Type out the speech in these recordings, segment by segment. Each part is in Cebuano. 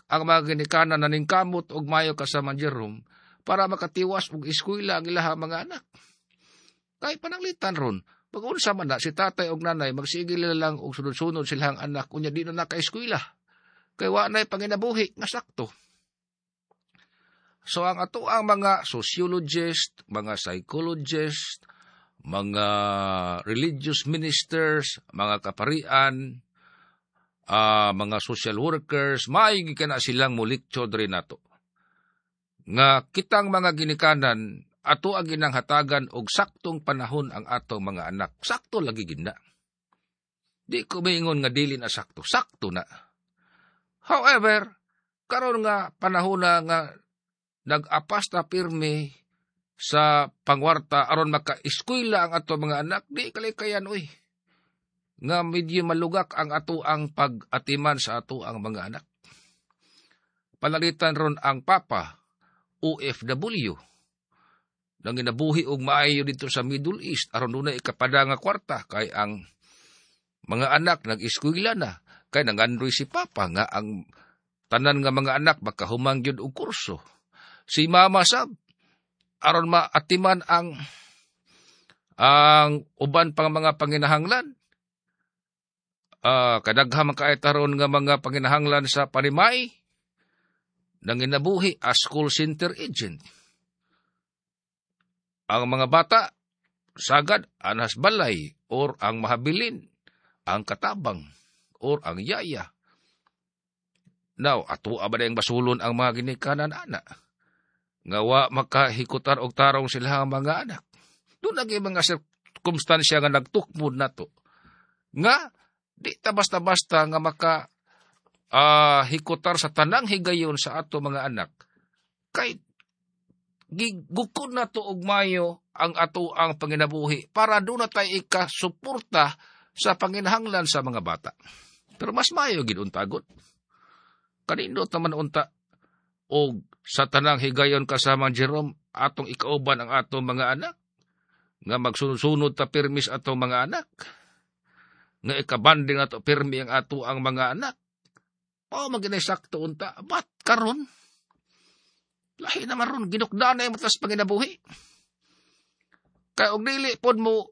Ang mga ginikanan na ningkamot og mayo, kasama Jerome, para makatiwas og eskwela ang ilahang mga anak. Kay pananglitan ron, pag-unsa man na, si tatay og nanay, magsigil lang og sunod-sunod silang anak, unya di na naka-eskwela. Kay wa na'y panginabuhi nga sakto. So ang ato ang mga sociologist, mga psychologist, mga religious ministers, mga kaparian, mga social workers, maigi ka na silang muliktyo diri nato. Nga kitang mga ginikanan, ato ang ginanghatagan og saktong panahon ang atong mga anak. Sakto lagi gid na. Di ko maingon nga dili na sakto. Sakto na. However, karon nga panahon na nga nag-apas na pirmi sa pangwarta aron maka-eskwela ang ato mga anak, di kalikayan uy. Nga medyo malugak ang ato ang pag-atiman sa ato ang mga anak. Panalitan ron ang papa, OFW, nang ginabuhi og maayo dito sa Middle East aron dunay ikapada nga kwarta kay ang mga anak nag-eskwela na, kay nangandoy si papa nga ang tanan nga mga anak makahumang gyud og kurso. Si mama sab aron maatiman ang uban pang mga panginahanglan. Kadaghan man kaayo taron nga mga panginahanglan sa panimay, nanginabuhi as call center agent. Ang mga bata sagad anas balay or ang mahabilin, ang katabang or ang yaya. Now, ato ba ang basulon ang mga ginikanan ana? Nga wa makahikutar og tarong sila ang mga anak. Doon lagi mga sirkumstansya nga nagtukmod nato. Nga, di ta basta-basta nga maka hikutar sa tanang higayon sa ato mga anak. Kay gigukod na to og mayo ang ato ang panginabuhi para doon na tayo ikasuporta sa panginahanglan sa mga bata. Pero mas mayo gid untagot. Kanindot naman unta og sa tanang higayon, kasama Jerome, atong ikauban ang atong mga anak nga magsunod-sunod ta pirmis atong mga anak nga ikabanding ato pirmi ang ato ang mga anak. O maginay sakto unta, but karon lahi naman ron, ginukda na yung matas panginabuhi. Kay og dili pod mo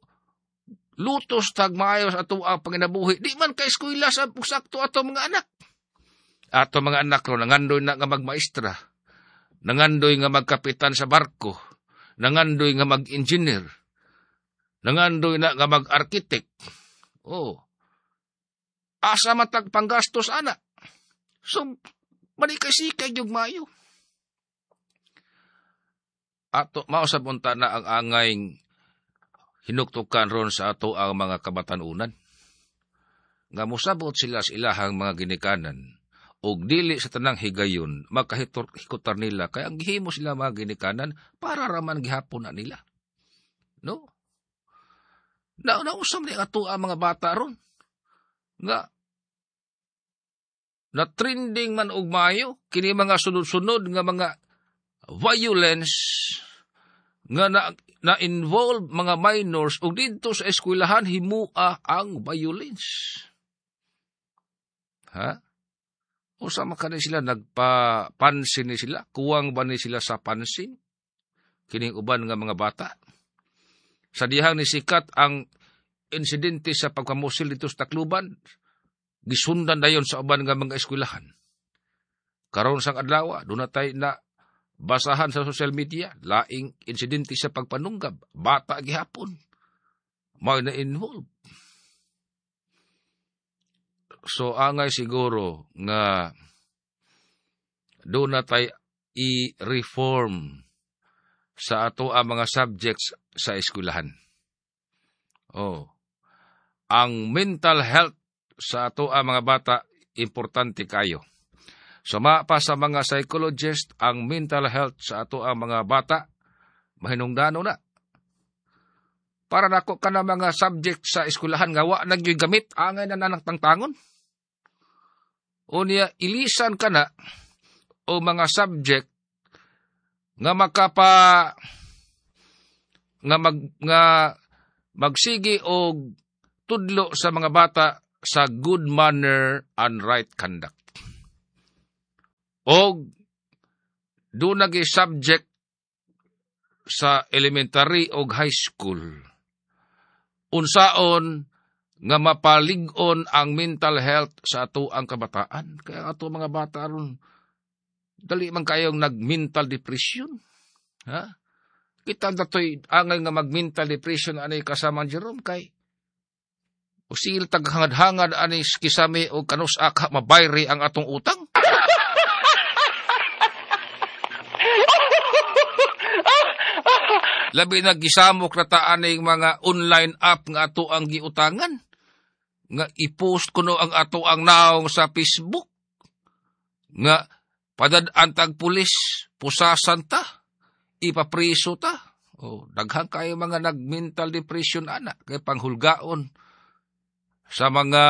lutos tag maayos ato ang panginabuhi, di man kay eskwela sa sakto ato mga anak. Ato mga anak ron, nangandoy na nga magmaestra, nangandoy nga magkapitan sa barko, nangandoy nga mag-engineer, nangandoy na nga mag-architect. Oh. Asa matag panggastos ana? So, manikay-sikay yung mayo. Ato, mausap unta na ang angay hinuktukan ron sa ato ang mga kabatanunan. Nga mosabot sila sa ilahang mga ginikanan, og dili sa tanang higayon makahikutar nila, kay ang gihimo sila mga ginikanan para raman gihapon na nila. No? Na nausam ni ato ang mga bata ron. Nga na trending man og maayo kini mga sunod-sunod nga mga violence nga na involve mga minors ug didto sa eskwelahan himua ang violence. Ha? Usa man kani sila nagpapansin ni sila, kuwang ba ni sila sa pansin kining uban nga mga bata? Sa dihang ni sikat ang insidente sa pagpamusil dito sa Tacloban, gisundan dayon sa uban nga mga eskwelahan. Karon sang adlaw, doon na tayo na basahan sa social media, laing insidente sa pagpanunggab, bata gihapon, may na-involve. So angay siguro nga doon na tayo i-reform sa ato ang mga subjects sa eskwelahan. Oh. Ang mental health sa ato ang mga bata importante kayo. Sama pa sa mga psychologist, ang mental health sa ato ang mga bata mahinungdano na. Para nako ka na mga subject sa eskwelahan nga wa na gyud gamit, angay na nanang tangtangon. O niya ilisan ka na o mga subject nga makapa nga mag nga magsigi og tudlo sa mga bata sa good manner and right conduct. Og doon nagi subject sa elementary og high school unsaon nga mapalig-on ang mental health sa ato ang kabataan. Kaya ato mga bata aron dali man kayong nag-mental depression. Ha? Kita datoy angay nga mag-mental depression ani kasama Jerome kay usil taghangad-hangad ani kisame o kanus-a ka mabayri ang atong utang. Labi na gisamok na ta aning mga online app nga ato ang giutangan. Nga i-post kuno ang ato ang naong sa Facebook. Nga padad-an tag pulis, pusasan ta, ipapriso ta. O, daghan kayo mga nag-mental depression ana, kay panghulgaon sa mga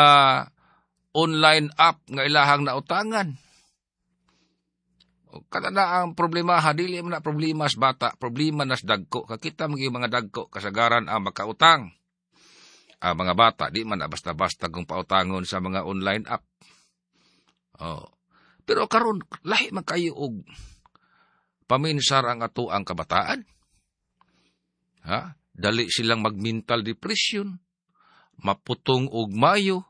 online app nga ilahang nautangan. Kada na ang problema, dili man na problema sa bata, problema nas dagko. Kakita mga mga dagko, kasagaran ang makautang. Ang mga bata, di man na basta-basta kung pautangon sa mga online app. Oh. Pero karon lahi man kayo og paminsar ang ato ang kabataan. Ha? Dali silang mag-mental depression, maputong og mayo,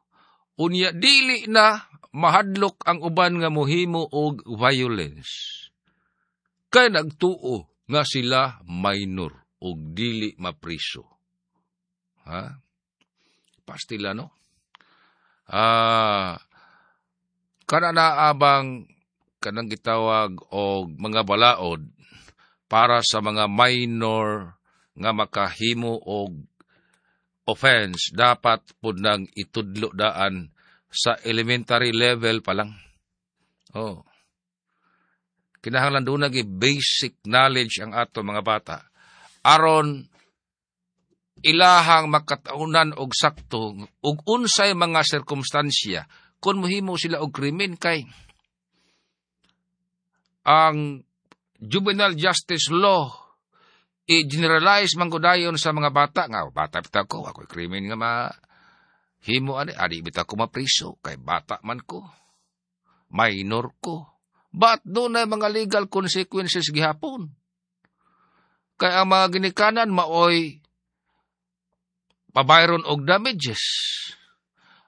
unya dili na mahadlok ang uban nga mohimo og violence. Kay nagtuo nga sila minor og dili mapriso. Ha? Pastila, no? Kana na abang kanang gitawag og mga balaod para sa mga minor nga makahimo og offense, dapat pud nang itudlo daan sa elementary level pa lang. Oh. Kinahanglan doon nagi basic knowledge ang ato mga bata. Aron ilahang makataunan og sakto og unsay mga sirkumstansya kung mohimo sila og krimen kay ang juvenile justice law i-generalize man dayon sa mga bata nga bata bitaw ko, ako'y krimen nga ma himo ani, adi bitaw ko mapriso kay bata man ko, minor ko. But doon na mga legal consequences gihapon. Kay ang mga ginikanan maoy pabayron og damages.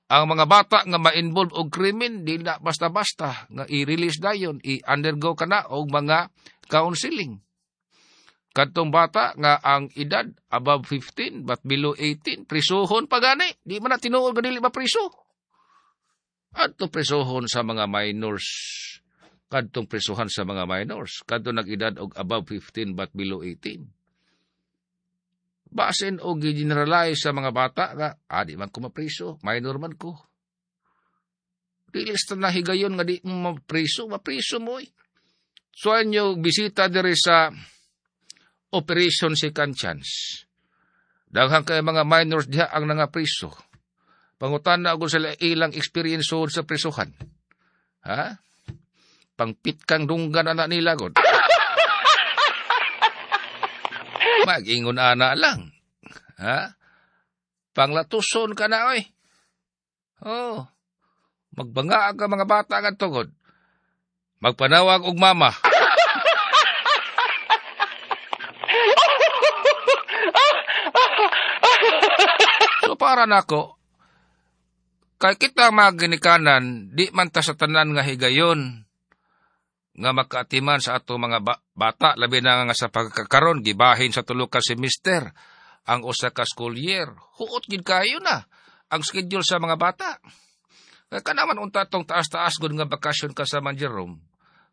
Ang mga bata nga ma-involve og krimen di na basta-basta nga i-release dayon, i-undergo kana og mga counseling. Kadtong bata nga ang edad above 15 but below 18, prisuhon pa gani. Di man na tinuod nga dili mapriso. Adto prisuhon sa mga minors. Kadtong prisuhan sa mga minors. Kadto nag-edad og above 15 but below 18. Basin og gi-generalize sa mga bata nga, di man ko mapriso, minor man ko. Dili sa nahigayon nga di mo mapriso, mapriso mo eh. So anyo bisita diri sa Operation Second Chance. Daghang kay mga minors diha ang nangapriso. Pangutan na og sila ilang experience sa prisuhan. Ha? Pangpit kang dunggan ana nila god. Mag-ingon ana lang. Ha? Panglatuson ka na oy. Oh. Magbanga ka mga bata nga tugod. Magpanawag og mama. So para nako, kay kita mga ginikanan, di man ta sa tanan nga higayon nga makaatiman sa ato mga bata, labi na nga sa pagkakaron, gibahin sa tulo ka semester ang usa ka school year. Huot gid kayo na ang schedule sa mga bata. Kaya kanaman unta tong taas-taas gud nga bakasyon ka sa Man Jerome,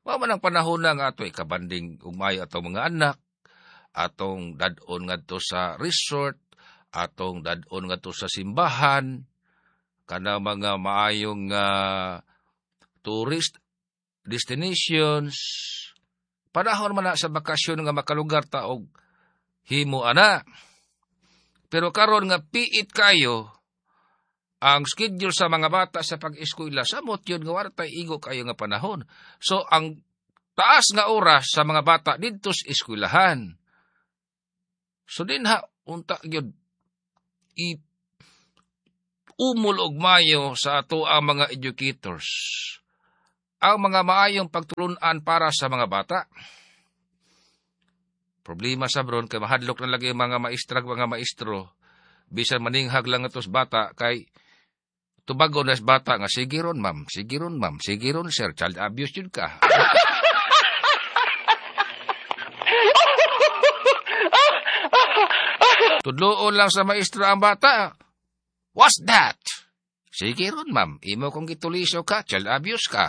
wa man ang panahon na nga ato ikabanding umayo atong mga anak, atong dad-on ngadto sa resort, atong dad-on ngadto sa simbahan, kana mga maayong tourist destinations. Panahon man na sa bakasyon nga makalugar ta og himo ana. Pero karon nga piit kayo ang schedule sa mga bata sa pag-eskwela, samot yun nga wala tay igo kayo nga panahon. So ang taas nga oras sa mga bata didto sa eskwelahan. So dinha unta gyud i umol og mayo sa ato ang mga educators. ang mga maayong pagtulunan para sa mga bata. Problema sa bron kay mahadlok na lagi mga maestrag mga maestro bisan maninghag lang atos bata kay tubago na sa bata nga sige ron ma'am, sige ron ma'am, sige ron sir, child abuse yun ka. Tudloon lang sa maestro ang bata. What's that? Sige ron ma'am, imo kong gituliso ka, child abuse ka.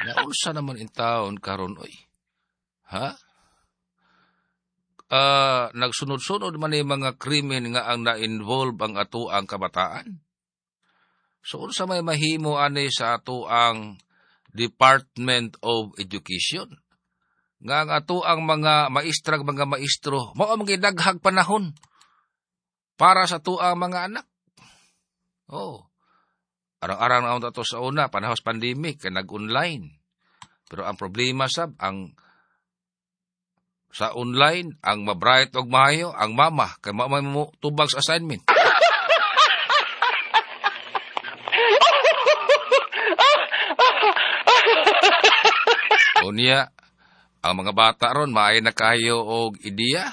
Naunsa naman in taon karon oy? Ha? Nagsunod-sunod man yung mga krimen nga ang na-involve ang atoang kabataan. So unsa may mahimo ani sa atoang Department of Education? Nga ang atoang mga maestrag mga maestro mao ang gidaghag panahon para sa atoang mga anak. Oh. Arang-arang na ato sa una, panahon sa pandemic, kay nag-online. Pero ang problema sab, ang sa online, ang mabright og maayo, ang mama, kay mama mo tubag sa assignment. Unya, ang mga bata ron, maayo na kayo og ideya.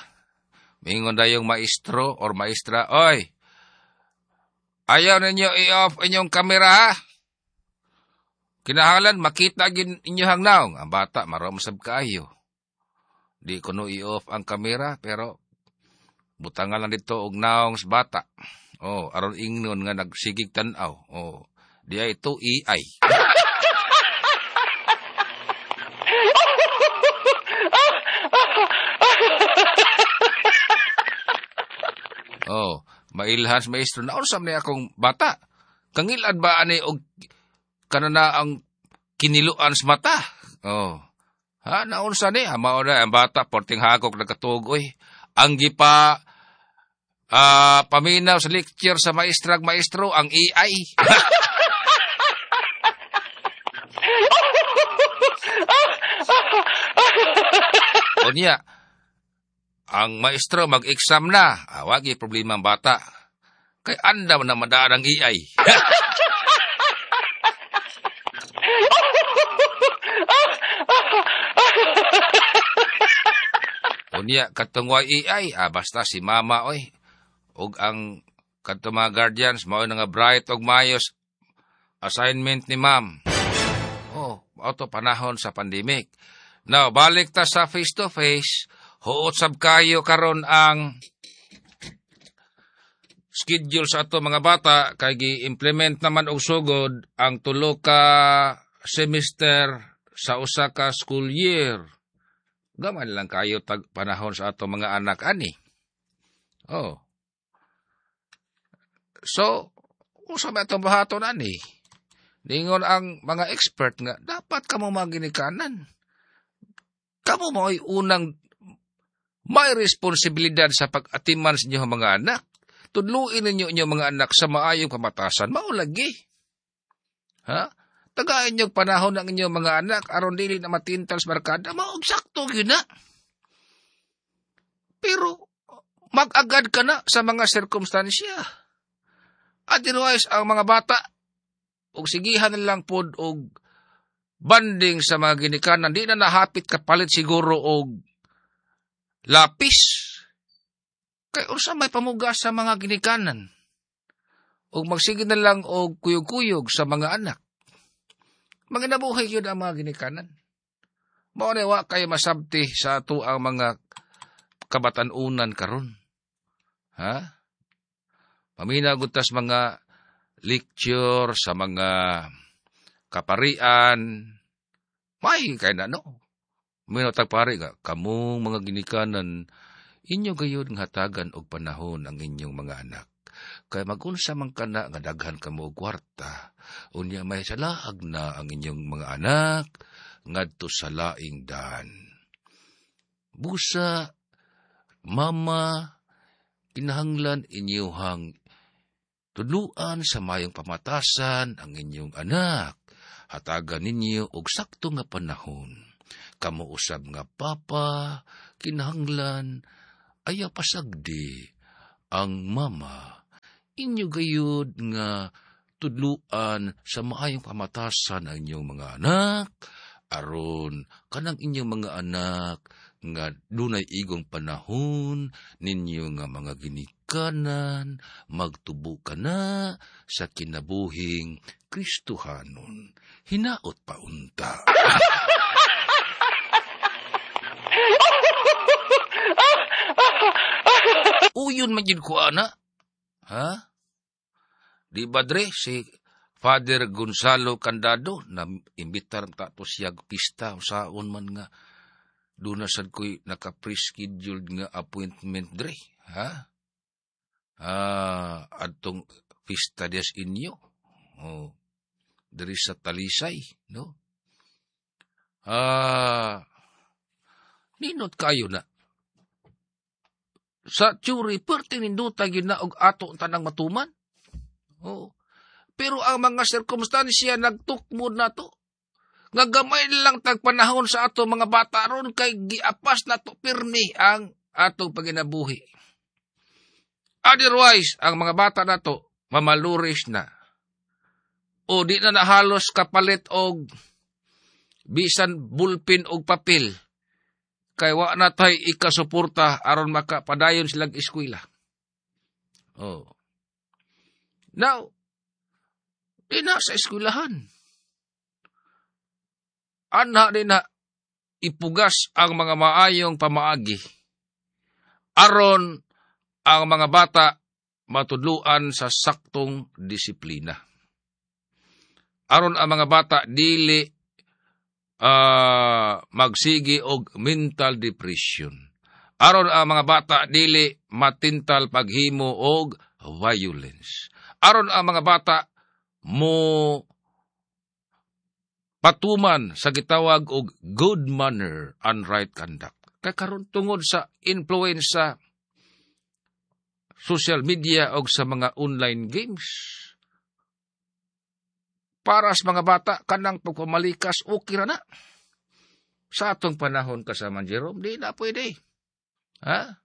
Mingon dayong maestro or maestra, oy, ayaw ninyo i-off inyong kamera, ha? Kinahalan, makita gin inyohang naong. Ang bata, marom sab kaayo. Di ko no i-off ang kamera, pero butangan lang dito og naong sa bata. Oh, aron ingnon nga nagsigig tan-aw. Oh, di ay ito AI. Oh, mailhan sa maestro na unsa man akong bata. Kangilad ba ani og kanana ang kiniluan sa mata? Oh. Ha, naunsa ni? Mao na ang bata porting hagok nagkatuog oy. Ang gipa paminaw sa lecture sa maestrag maestro ang AI. Unya, ang maestro mag-exam na, wagi problema ang bata. Kay andam na madaan ang AI. Unya, katong AI, basta si mama, oy. Og ang katong mga guardians, mao na nga bright og maayos assignment ni ma'am. Oh, auto panahon sa pandemic. Now, balik ta sa face to face. Huot sab kayo karon ang schedule sa ato mga bata kay gi-implement naman og sugod ang tulo ka semester sa usa ka school year. Gamay lang kayo tag panahon sa ato mga anak ani. Oh. So, usa may atong buhaton ani? Ningon ang mga expert nga dapat kamo maginikanan. Kamo mao'y unang may responsibilidad sa pag-atiman sa inyong mga anak. Tudluin ninyo inyong mga anak sa maayong kamatasan. Maulagi. Ha? Tagain niyo panahon ang inyong mga anak aron dili na matintal sa barkada. Maog sakto gyud na. Pero mag-agad ka na sa mga sirkumstansya. Otherwise, ang mga bata, og sigihan lang pod og banding sa mga ginikanan, di na nahapit kapalit siguro og lapis. Kay unsa may pamugas sa mga ginikanan? Og magsige na lang og kuyog-kuyog sa mga anak. Manginabuhi yun ang mga ginikanan. Mao na wa kay masabti sa ato ang mga kabatan-unan karon. Ha? Paminaw gud tas mga lecture sa mga kaparian. May kay na no. Minaw tag pari nga kamong mga ginikanan inyo gayud nga hatagan og panahon ang inyong mga anak. Kay magunsa man kana nga daghan kamo og kwarta, unya may salaag na ang inyong mga anak ngadto sa laing daan. Busa, mama, kinahanglan inyuhang tudluan sa mayong pamatasan ang inyong anak. Hatagan ninyo og sakto nga panahon. Kamo usab nga papa, kinahanglan ayaw pasagdi ang mama, inyo gayud nga tudluan sa maayong pamatasan ang inyong mga anak, aron kanang inyong mga anak nga dunay igong panahon ninyo nga mga ginikanan, magtubo ka na sa kinabuhing Kristohanon. Hinaot pa unta. Uyon man gid ko ana. Ha? Di ba dre si Father Gonzalo Candado na imbitar ta to siya pista usaon man nga doon na sad ko'y naka-prescheduled nga appointment dre, ha? Adtong pista des inyo. Oh, diri sa Talisay, no? Ninot kayo na. Sa theory, perti ninduta gyud na og ato tanang matuman. Oh. Pero ang mga sirkumstansya nagtukmod na to. Nga gamay lang tag panahon sa ato mga bata ron kay giapas na to pirmi ang atong paginabuhi. Otherwise, ang mga bata na to mamaluris na. O di na nahalos kapalit og bisan bulpin og papel. Kay wa na tay ikasuporta aron makapadayon silang eskwela. Oh. Now, di na sa eskwelahan. Anha din na ipugas ang mga maayong pamaagi. Aron ang mga bata matudluan sa saktong disiplina. Aron ang mga bata dili magsigi og mental depression. Aron ang mga bata dili matintal paghimo og violence. Aron ang mga bata mo patuman sa gitawag og good manner and right conduct. Kay karon tungod sa influence sa social media og sa mga online games, para sa mga bata kanang pagpamalikas okay ra na. Sa atong panahon kasama Jerome, di na pwede. Ha?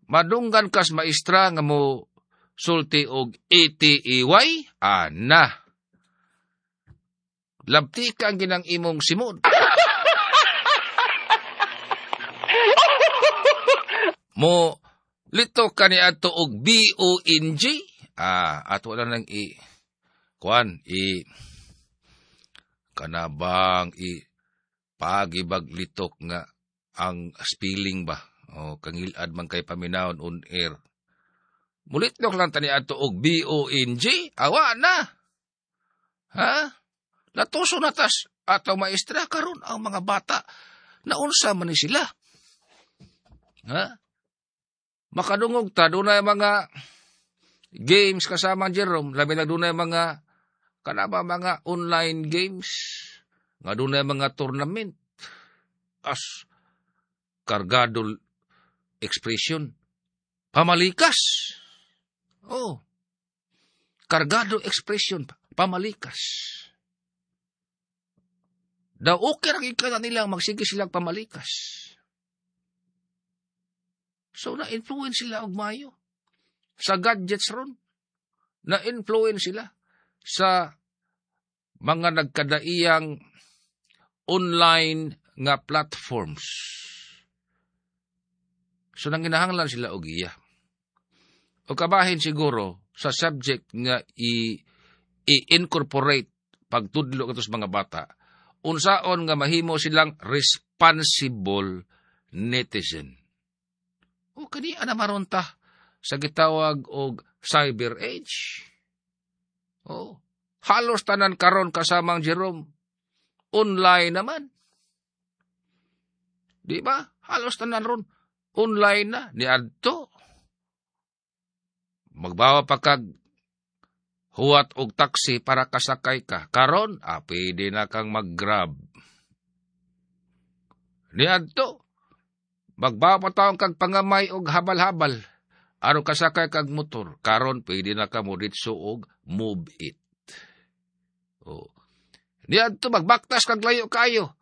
Madunggan kas maestra nga mo sulti og ATEY, ana. Labti ka ang ginang imong simod. Mo lito ka ni ato og B-O-N-G. Ato lang nang i kuan i kanabang i pagibag litok nga ang spelling ba o kangilad man kay paminawon on air. Mulitlok lang tani ato og B-O-N-G. Awa na. Ha? Latuso na tas ato maestra karon ang mga bata naunsa man ni sila. Ha? Makadungog ta dunay mga games kasama Jerome, labi na dunay mga kanaba mga online games nga dunay mga tournament as kargado expression pamalikas. Oh. Kargado expression pamalikas. Daw okay ra gid ka nila magsige silang pamalikas. So na-influence sila og maayo sa gadgets ron. Na-influence sila sa mga nagkadaiyang online nga platforms. So nanginahanglan sila og iya. O kabahin siguro sa subject nga i-incorporate pagtudlo kato sa mga bata, unsaon nga mahimo silang responsible netizen. O kani ana maron ta sa gitawag og cyber age. O halos tanan karon kasamang Jerome online naman. Di ba? Halos tanan ron online na niadto. Magbawa pa kag huwat og taxi para kasakay ka. Karon, pwede na kang mag-grab. Niadto, magbawa pa taong kag pangamay og habal-habal. Aron kasakay kag motor. Karon, pwede na ka mo ditso og move it. Oh. Niadto, magbaktas kag layo kayo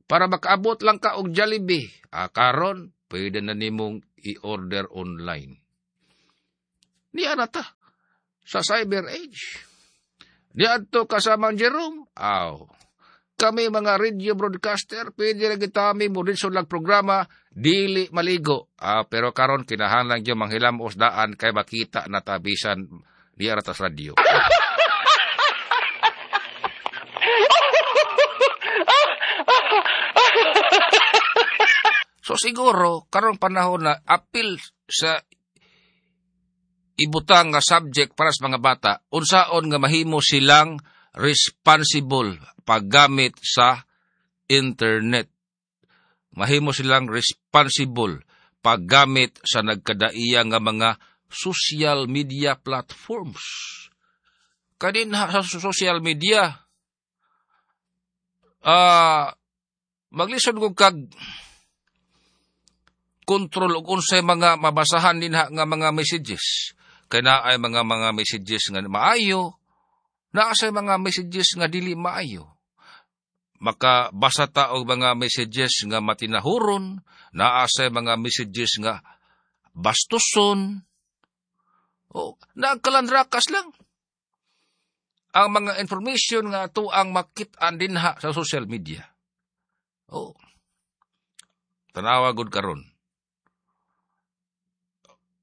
para makaabot lang ka og Jollibee. Karon, pwede na nimong i-order online. Niya na ta sa cyber age. Niadto kasamang Jerome, aw. Kami mga radio broadcaster, pwede na kita kami mo rin lang programa, dili maligo. Pero karon kinahanglan gyud manghilamos daan kay makita na tabisan niya ra ta sa radyo. So siguro karong panahon na apil sa ibutang nga subject para sa mga bata, unsaon nga mahimo silang responsible paggamit sa internet. Mahimo silang responsible paggamit sa nagkadaiya nga mga social media platforms. Kanin sa social media, maglisod ko kag kontrol og unsay mga mabasahan dinha nga mga messages. Kay naay mga messages nga maayo, naa say mga messages nga dili maayo. Makabasa ta og mga messages nga matinahuron, naa say mga messages nga bastuson. O nagkalandrakas lang ang mga information nga ato ang makit-an dinha sa social media. O tanawa gud karon.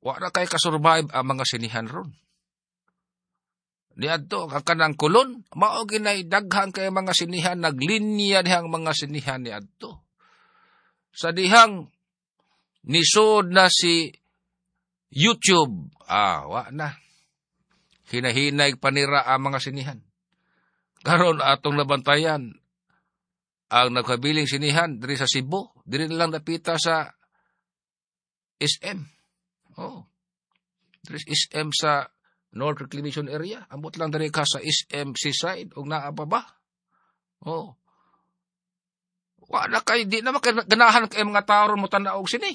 Wa na kay kasurvive ang mga sinihan ron. Niadto ang kanang Kulon, mao ginay daghan kay mga sinihan, naglinya dihang mga sinihan niadto. Sa dihang nisod na si YouTube, wa na. Hinahinay panira ang mga sinihan. Karon atong nabantayan ang nagkabiling sinihan diri sa Cebu, diri lang napita sa SM. Oh. Diri SM sa North Reclamation Area, ambot lang diri ka sa SM Seaside og naa pa ba? Oh. Wa na kay di na makaganahan kay mga tao mo tan-aw og sini.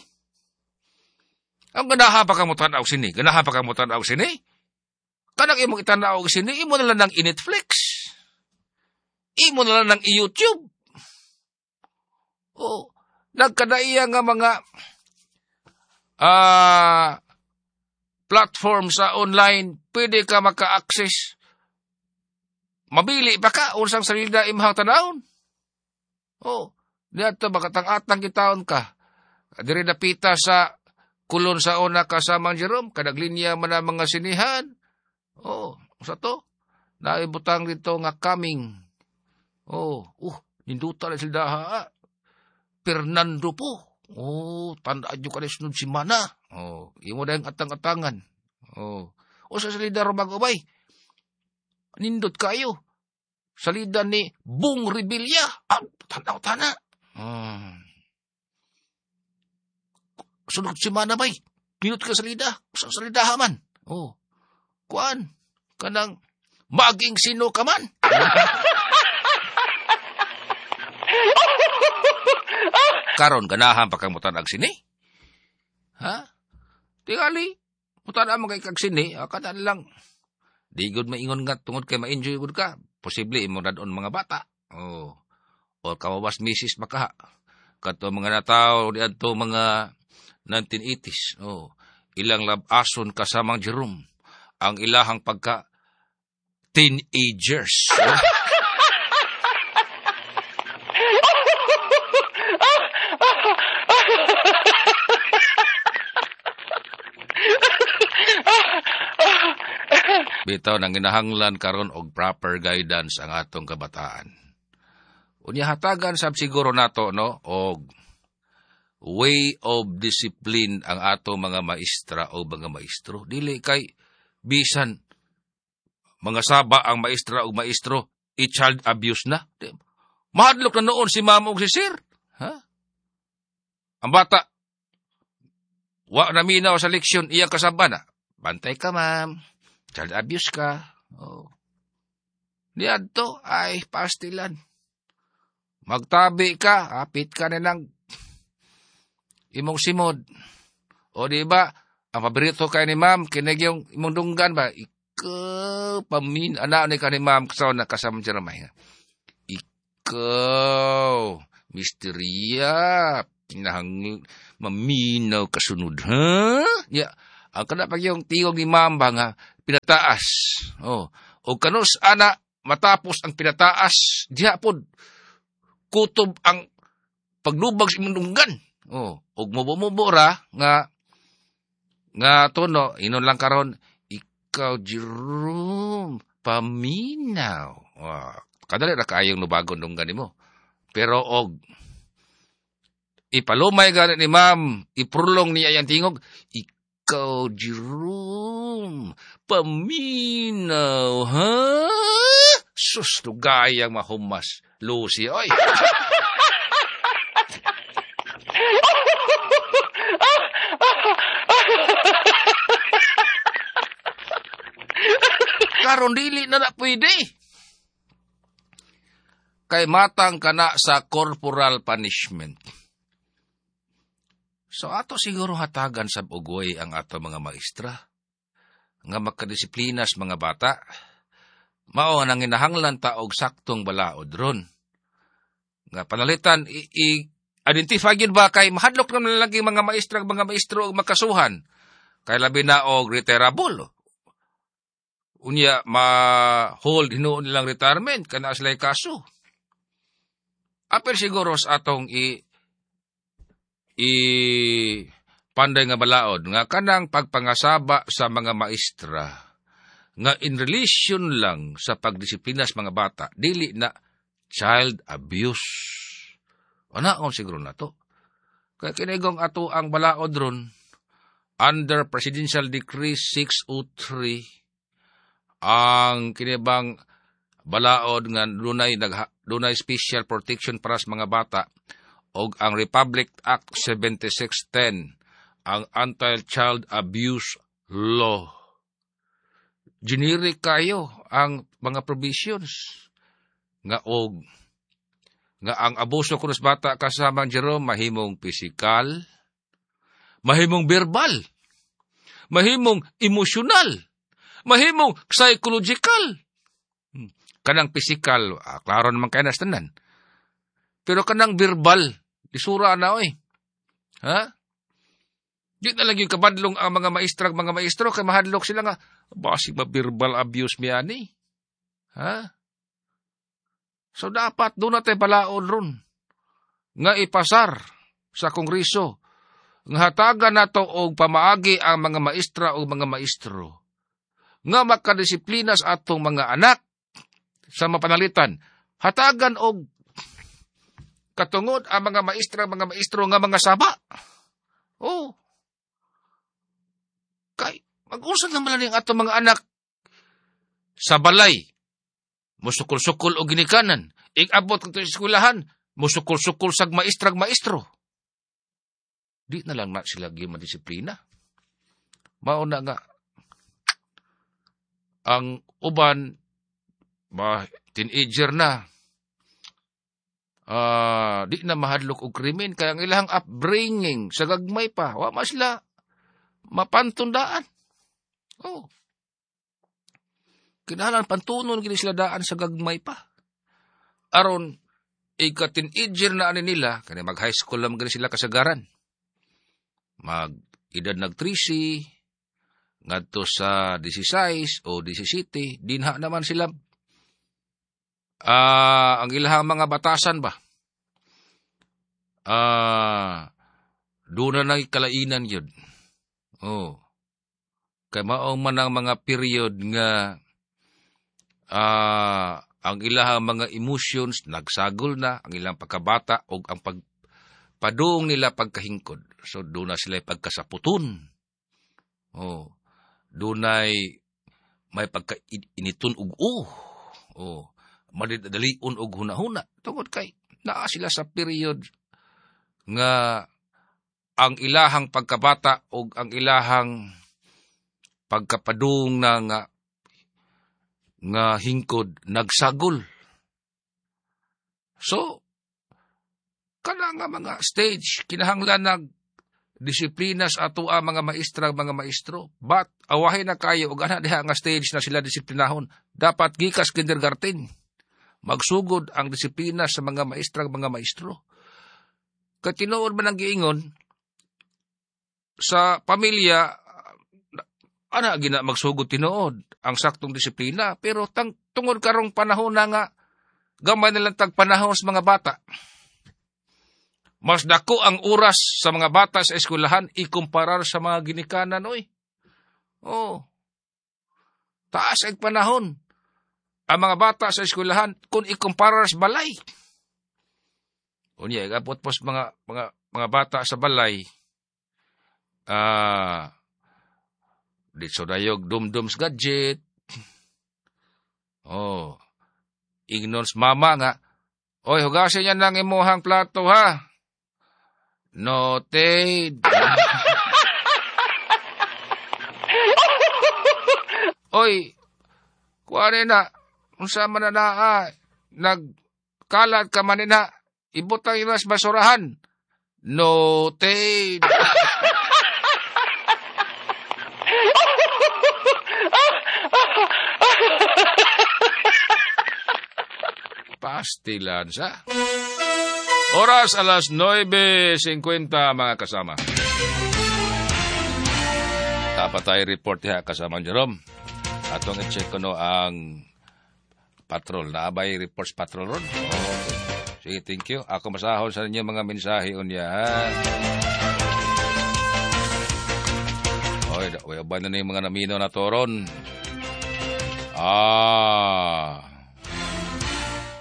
Ang ganahan pa ka mo tan-aw sini, ganahan pa ka mo tan-aw sini. Kanang imong itan-aw og sini, imo na lang nang i-Netflix. Imo na lang nang i-YouTube. Oh, nagkadaiya nga mga platform sa online, pwede ka maka-access. Mabili pa ka unsang salida imong tanawon. Oh, diadto makatang-atang gitaon ka. Diri napita sa Kulon sa una kasamang Jerome, kadaglinya man ang mga sinihan. Oh, usa to? Naibutang dito nga coming. Oh, ninduta na sila ha. Fernando po. Oh, tandaan nyo ka na sunod si Mana. Oh, imo na yung atang-atangan. Oh, o sa salida rumag-ubay. Nindot kayo. Salida ni Bong Revilla. Ah, tanaw tana. Sunod si Mana bay. Nindot ka salida. Sa salida haman. Oh, kuan. Kanang maging sino ka man. Karon ganahan pa kang mutan-ag sini. Ha? Tingali, mutan-ag mo kay kag sini, kanan lang. Di gud maingon nga tungod kay ma-enjoy gud ka. Posible imong radon mga bata. Oh. O kawawas misis makaha. Kato mga nataw diadto mga 1980s. Oh. Ilang labason kasamang Jerome ang ilahang pagka teenagers. Oh. Bitaw nang ginahanglan karon og proper guidance ang atong kabataan. Unya hatagan sab siguro nato no og way of discipline ang atong mga maestra o mga maestro. Dili kay bisan mga saba ang maestra o maestro i-child abuse na. Mahadlok na noon si ma'am og si sir. Ha? Ang bata wa na minaw sa leksyon iya kasaba na. Bantay ka ma'am. Child abuse ka. Oh. Niadto ay pastilan. Magtabi ka, apit ka na ng imong simod. O di ba, ang paborito kay ni ma'am, kinig yung imong dunggan ba? Ikaw, pamin, anak ni ka ni ma'am, kasama na kasama Jeremiah. Ikaw, misterya, kinahang maminaw kasunod, ha? Ya, Ang kana pag yung tingog ni ma'am ba nga pinataas. Oh, o kanus ana matapos ang pinataas, diha pod kutob ang paglubag sa imong dunggan. Oh, ug mubo-mubo ra nga nga tono inon lang karon, ikaw Jerome paminaw. Oh, kadali ra kaayong nubagon dunggan nimo. Pero og ipalumay gani ni ma'am, iprulong niya yang tingog, ikaw Jerome paminaw, ha? Sus, lugayang mahumas, Lucy, oy. Karon dili na na pwede. Kay matang kana sa corporal punishment. So ato siguro hatagan sa ugoy ang ato mga maestra nga makadisiplina sa mga bata. Mao nang ginahanglan ta og saktong balaod ron. Nga panalitan i-identify gyud ba kay mahadlok naman lagi mga maestra mga maestro og makasuhan. Kay labi na og retirable. Unya ma-hold hinuon nilang retirement kana sila'y kaso. Apil siguro sa atong i panday nga balaod nga kanang pagpangasaba sa mga maestra nga in relation lang sa pagdisiplina sa mga bata, dili na child abuse. Ana siguro na to. Kaya kinigong ato ang balaod ron under Presidential Decree 603 ang kinibang balaod nga dunay special protection para sa mga bata og ang Republic Act 7610 ang Anti-Child Abuse Law. Generic kayo ang mga provisions nga og nga ang abuso kuno sa bata kasama Jerome mahimong pisikal, mahimong verbal, mahimong emosyonal, mahimong psychological. Kanang pisikal, klaro naman kay nas tanan. Pero kanang verbal, lisura na oy. Ha? Di na lang yung kabadlong ang mga maestra, mga maestro kay mahadlok sila nga basig ma-verbal abuse mi ani. Ha? So dapat doon natin balaod ron nga ipasar sa Kongreso nga hatagan nato og pamaagi ang mga maestra o mga maestro nga makadisiplina sa atong mga anak sa mapanalitan. Hatagan og katungod ang mga maestra, mga maestro nga mga saba. Oh. Kay mag-usad naman lang atong mga anak sa balay. Musukol-sukol og ginikanan. Igabot kadto sa eskwelahan, musukol-sukol sag maestrag maestro. Di na lang na sila madisiplina. Mao na nga ang uban ba teenager na di na mahadlok og krimen kaya ang ilang upbringing sa gagmay pa wa man sila mapantundaan. Oh. Kinahanglan pantunon gini sila daan sa gagmay pa. Aron ika-teenager na ani nila kani mag high school lang gini sila kasagaran. Mag edad nag 13 ngadto sa 16 o 17, dinha naman sila ang ilahang mga batasan ba? Doon na kalainan yun. Oh. Kay mao man ang mga period nga ang ilahang mga emotions nagsagol na, ang ilang pagkabata o ang pagpadung nila pagkahingkod. So doon na sila pagkasaputon. Oh. Dunay may pagkainiton og oh, madalion og hunahuna tungod kay naa sila sa period nga ang ilahang pagkabata og ang ilahang pagkapadung na nga hingkod nagsagol. So kana nga mga stage kinahanglan nag disiplina sa ato ang mga maestra, mga maestro. But awahin na kayo og ana diha nga stage na sila disiplinahon. Dapat gikas kindergarten magsugod ang disiplina sa mga maestra, mga maestro. Kay tinuod man ang giingon sa pamilya, Ana gina magsugod tinuod ang saktong disiplina, pero tungod karong panahon na nga gamay na lang tag panahon sa mga bata. Mas dako ang oras sa mga bata sa eskwelahan ikumparar sa mga ginikanan oy. Oh. Taas ang panahon ang mga bata sa eskwelahan kung ikumparar sa balay. Unya, igabot pos mga bata sa balay. Ditso dayog dumdums gadget. Oh. Ignores mama nga. Oy, hugasin niya ng imuhang plato ha. Noted. Oy, kuwari na, unsa man na naa, nagkalat ka man na, ibutang imas basurahan. Noted. Pastilan sa. Oras alas 9:50 mga kasama. Dapat tayo report diha kasama Jerome. Atong i-check ko no ang patrol. Naabay reports patrol ron. Okay. Sige, thank you. Ako masahol sa inyo mga mensahe unya. Oy, ba na yung mga namino na to ron?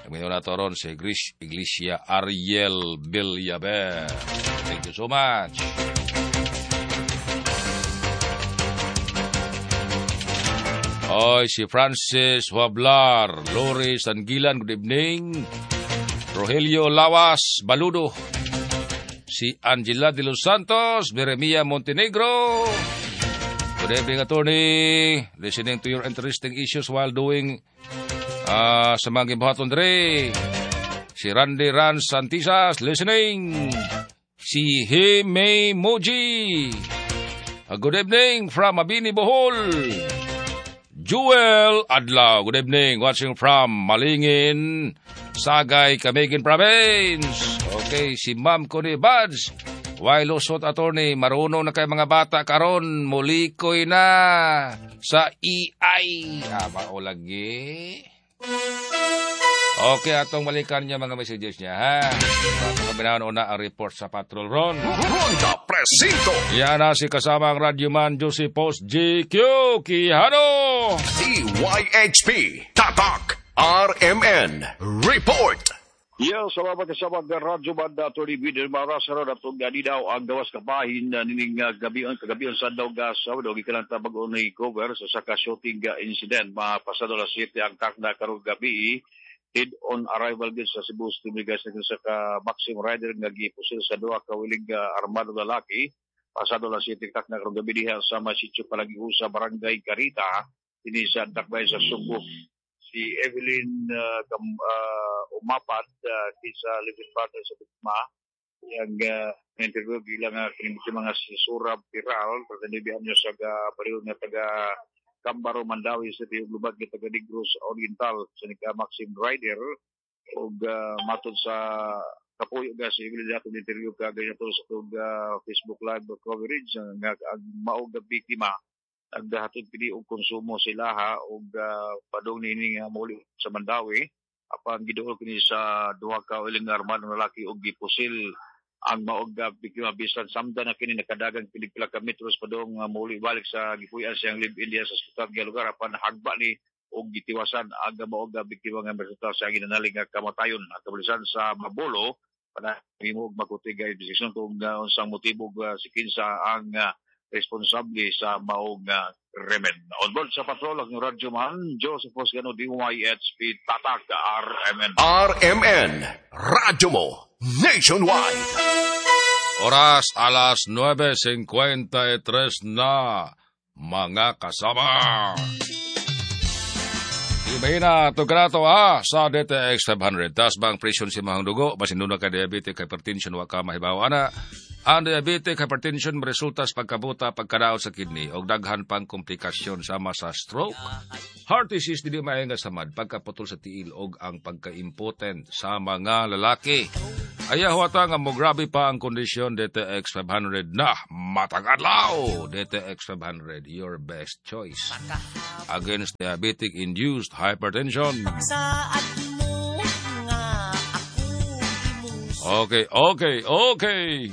Namino na to ron si Iglesia Ariel Villaber. Thank you so much. Oy, si Francis Wablar, Lori Sangilan, good evening. Rogelio Lawas Baludo, si Angela de los Santos, Jeremia Montenegro. Good evening, attorney. Listening to your interesting issues while doing sa mga gibuhaton dre. Si Randy Ran Santisas, listening. Si Hime Moji. Good evening from Mabini, Bohol. Jewel Adlaw, good evening. Watching from Malingin, Sagay, Camiguin Province. Okay, si Ma'am Connie Buds. Why lusot, attorney, marunong na kay mga bata karon, mulikoy na sa EI. Mao lagi. Okay, atong balikan niya mga messages niya, ha? Pagkabinahan una ang report sa patrol ron. Ronda Presinto. Yan na si kasama ang radyoman Joseph Post GQ Quijano. DYHP Tatak RMN Report. Yes, salamat kasama ng Radyo Banda, Atty. Bider Marasaro, atong gani daw ang gawas kabahin nining gabi kagabion sa daw gas daw gikan ta bag-o ni cover sa saka shooting incident mapasado alas 7 ang takna karong gabi head on arrival gid sa Cebu City guys sa ka Maxim Rider nga gipusil sa duha ka wiling armado lalaki pasado alas 7 takna karong gabi diha sa Masityo Palagiusa, Barangay Carita dinhi sa Dakbay sa Sugbo. Si Evelyn Umapad sa living partner sa biktima yang interview bilang kini mga si Surab Piral pagkanibihan niya sa baril nga taga Cambaro Mandawi City ug lubag nga taga Negros Oriental sa nika Maxim Rider ug matod sa kapuyo ga si Evelyn atong interview ka ganito sa tug Facebook live coverage nga ang maog nga biktima nagdahatod pili og konsumo sila og padung niini nga muli sa Mandawi apan giduol kini sa duha ka uling armadong lalaki og gipusil ang maog biktima bisan samtang na kini nakadagan pili pila ka metros padung muli balik sa gipuy-an siyang live-in diha sa sultan nga lugar apan hagba ni og gitiwasan ang maog biktima nga resulta sa ginanalig nga kamatayon. Ang kapulisan sa Mabolo panahimo og makuti nga investigasyon kung unsang motibo si kinsa ang responsable sa maong krimen. On board sa patrol ang Radyo Man, Joseph Osgano, DYHP, Tatak, RMN. RMN, Radyo Mo, Nationwide. Oras alas 9:53 na, mga kasama. Ibahina, tugrato sa DTX 500. Tas bang presyon si mahang dugo, basin doon ka diabetic, hypertension, wa ka mahibaw ana. Ang diabetic hypertension resulta sa pagkabuta, pagkadaot sa kidney o daghan pang komplikasyon sama sa stroke, heart disease, dili maayo nga samad, pagkaputol sa tiil og ang pagka-impotent sa mga lalaki. Ayaw ata nga mo grabe pa ang kondisyon, DTX 500 na matag adlaw. DTX 500, your best choice against diabetic induced hypertension. Saad mo nga ako imong Okay.